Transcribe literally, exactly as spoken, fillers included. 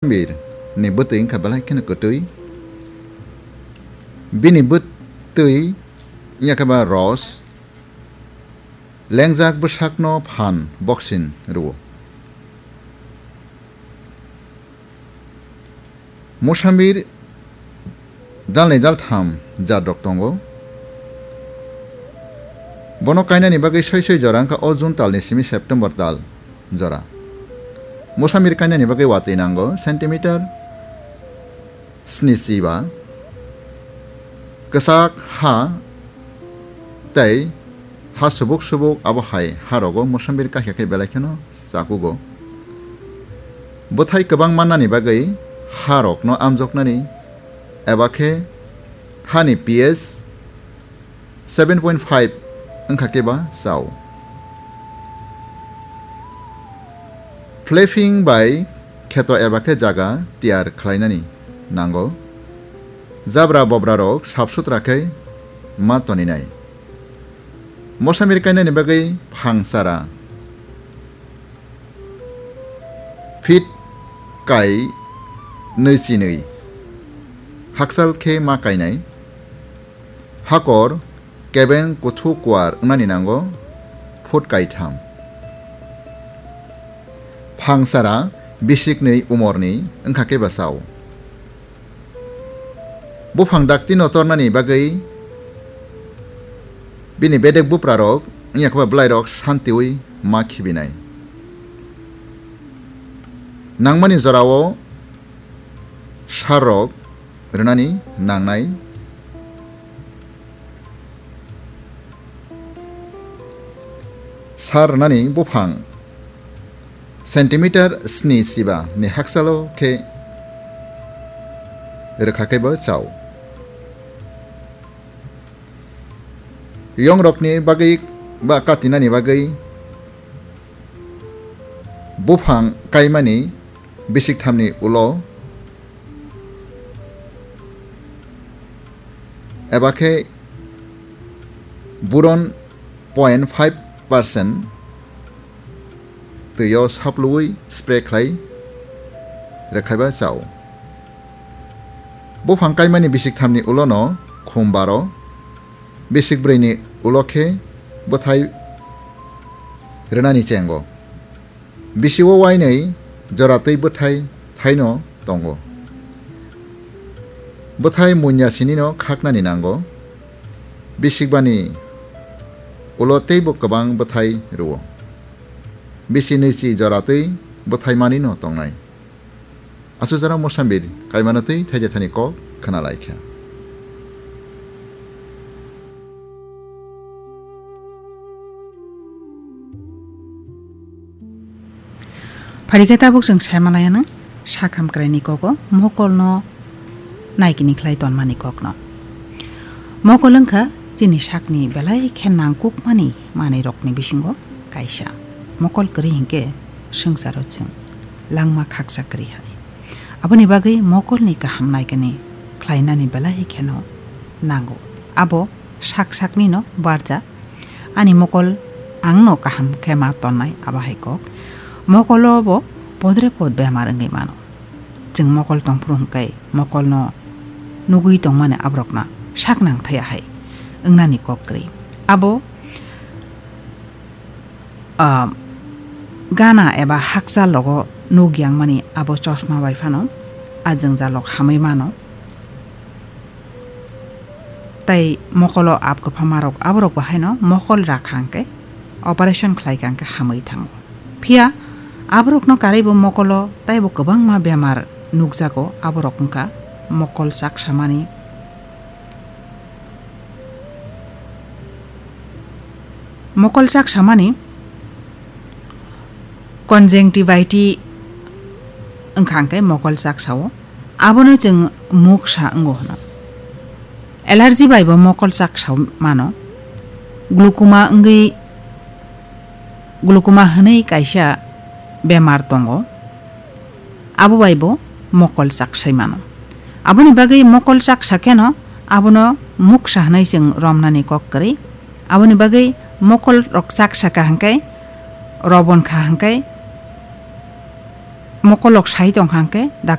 Mosamir ni bwtwi wngkha belai kheno kwtwi. Bini bwtwi wngya khe ba ros, lengjak bwsakno phan boksin rwo. Mosamir dalnwi daltham jat rok tongo. Bono kainani bagwi soi soi jora wngkha o June talni simi September tal jora. Mosamir kainani bagwi watwi nango centimeter sni chiba. Kwchak ha tei ha subuk subuk abo hai ha rogo mosamir kahya khe belai kheno chakugo. Bwthai kwbang mannani bagwi ha rokno amjoknani eba khe hani P H seven point five wngkha khe ba chao. Flapping bai kheto eba khe jaga tiyar khlainani nango. Jabra bobra rok sap sutra khe ma toninai. Mosamir kainani bagwi phang chara fit kai nwi chinwi hakchal khe ma kainai. Hakor kebeng kuthu kuar wngnani nango foot kaitham. Phang chara bisiknwi umorni wngkha khe ba chao. Buphang dakti no tornani bagwi bini bedek bupra rok wngya khe ba bwlai rok santiwi ma khibinai. Nangmani jorao sar rok rwnani nangnai. Sar rwnani buphang centimeter sni chiba ni hakchalo khe rwkha khe bo chao. Yong rokni bagwi ba katinani bagwi buphang kaimani bisik thamni ulo eba khe boron point five percent twi o saplui spray khlai rwkhaiba chao. Buphang kaimani bisik thamni ulo no khum baro, bisik brwi ni ulo khe bwthai rwnani chengo. Bisi o wainwi jora twi bwthai thaino tongo. Bwthai munya sinino khaknani nango. Bisikbani ulo teibo kwbang bwthai rwo. Bisi nwichi jora twi bwthai manino tongnai. Aswk jora Mosambir kaimano twi thaija thani kok khna lai kha. Phaikhe tabuk chwng sai manlaianw sak hamkraini kogo mokolno naikini khlai tonmani kokno. Mokol wngkha chini sakni belai khe nangkukmani manwirokni bisingo kaisa. Mokol kwrwi hinkhe swngcharo chwng langma khaksa kwrwi hai. Aboni bagwi mokolni kaham naikini khlainani belai kheno nango. Abo sak saknino barja. Ani mokol angno kaham khe ma tonnai, abo hai kok. Mokolo bo podre pod bemar wngwi mano. Chwng mokol tongphuru hwnkhe mokolno nugwi tongmani aborokno sak nang thaya hai wngnani kok kwrwi. Abo, ah, gana eba hakchal rogo nuk yangmani abo chosma bai phano a jwngjalrok hamwi mano. Tei mokolo ab kwphamarok aborok bo haino mokol rakha hwnkhe operation khlaikha hwnkhe hamwi thango. Phiya aborokno karwibo mokolo teibo kwbangma bemar nukjago, aborok wngkha mokol chaksamani, mokol chaksamani conjunctivitis wngkha hwnkhe mokol chaksao. Abono chwng muksa wngo hwno. Allergy bai bo mokol chaksa mano. Glaucoma wngwi, glaucoma hwnwi kaisa bemar tongo. Abo bai bo mokol chaksai mano. Aboni bagwi mokol chaksa kheno abono muksa hwnwi chwng romnani kok kwrwi. Aboni bagwi mokol rok chaksa kha hwnkhe, robon kha hwnkhe, Mokolok sai tong kha hwnkhe,